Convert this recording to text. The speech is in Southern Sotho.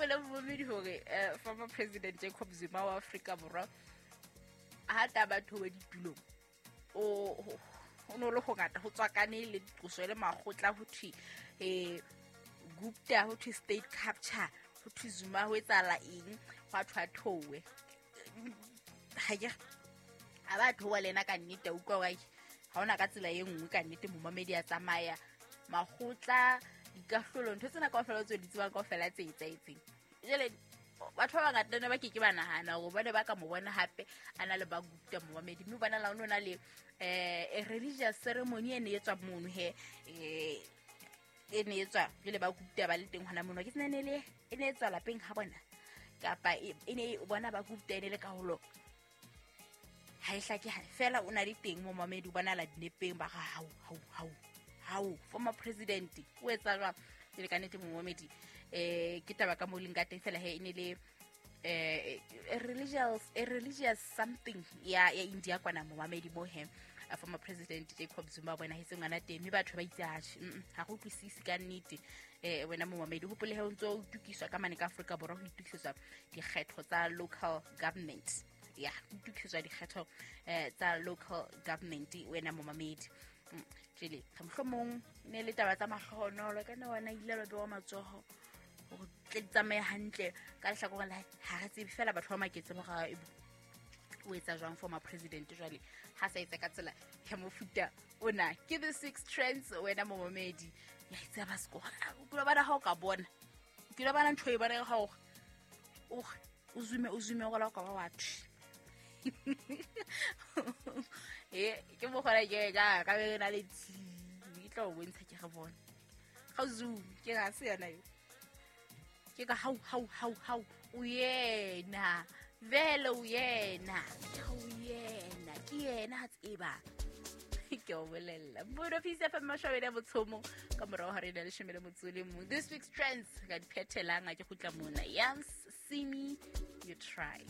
Hopole momamedi hore former president Jacob Zuma wa Afrika Borwa ha ta batho ba ditulong o no le go ngata go tswakane le qoso le magotla ho thwe Gupta, ho thwe state capture, ho thwe Zuma ho etsahala eng, hwa thwa thowe ha ke a ba thowa le ena ka nnete. A utlwa wa ha ona ka tsela e nngwe ka nnete momamedi a tsamaya magotla dikahlolo ntho tsena kaofela tse di tsebang kaofela tse etsahetseng. Jwale batho ba bangata ne ba ke ke ba nahana hore ba ne ba ka mo bona hape a na le ba Gupta momamedi, mme bona la o na le a religious ceremony e ne e tswa mono he e ne e tswa jwale ba Gupta ba le teng hona mono. Ke tsena ne le e ne e tswa lapeng ha bona kapa e ne bona ba Gupta e ne le karolo ha e hlake fela o na le teng momamedi o bonala dinepeng ba ga hau hau hau hau former president o etsa jwang jwale ka nnete momamedi ke taba ka mo leng ka teng fela he e ne le a religious something ya India kwana momamedi mo he former president Jacob Zuma bona hetse ngwana teng mme batho ba itse atjhe ha go utlwisise ka nnete. Wena momamedi hopole he o ntso o itukiswa ka mane ka Afrika Borwa ho itukisetswa dikgetho tsa local government, ya ho itukisetswa dikgetho tsa local government wena momamedi. Jele ga mohlomong ne le taba tsa mahlohonolo ka nna wena ile ba bewa matsoho hore tle di tsamaye hantle ka lehlakoreng la ha re tsebe fela batho ba maketse ba o etsa jwang former president jwale ha sa etsa ka tsela ya mofuta ona. Ke the six trends wena momamedi ya itse ba seko o kile bana ha o ka bona o kile bana ntho e bona ga o o zume o zume go la ka ba batho e ke mo gona ke ka be na le tshi ke tla o bontsha ke re bona ga zoom ke ga se yona yo ke ka hau hau hau hau o yena vele o yena o yena ke yena ha tseba ke o bolella Mmuno Peace FM mashobedi a botshomo ka morago ga re na leshome le motso le mong. This week's trends ka di phethelang a ke gutla mona. Yams, see me you try.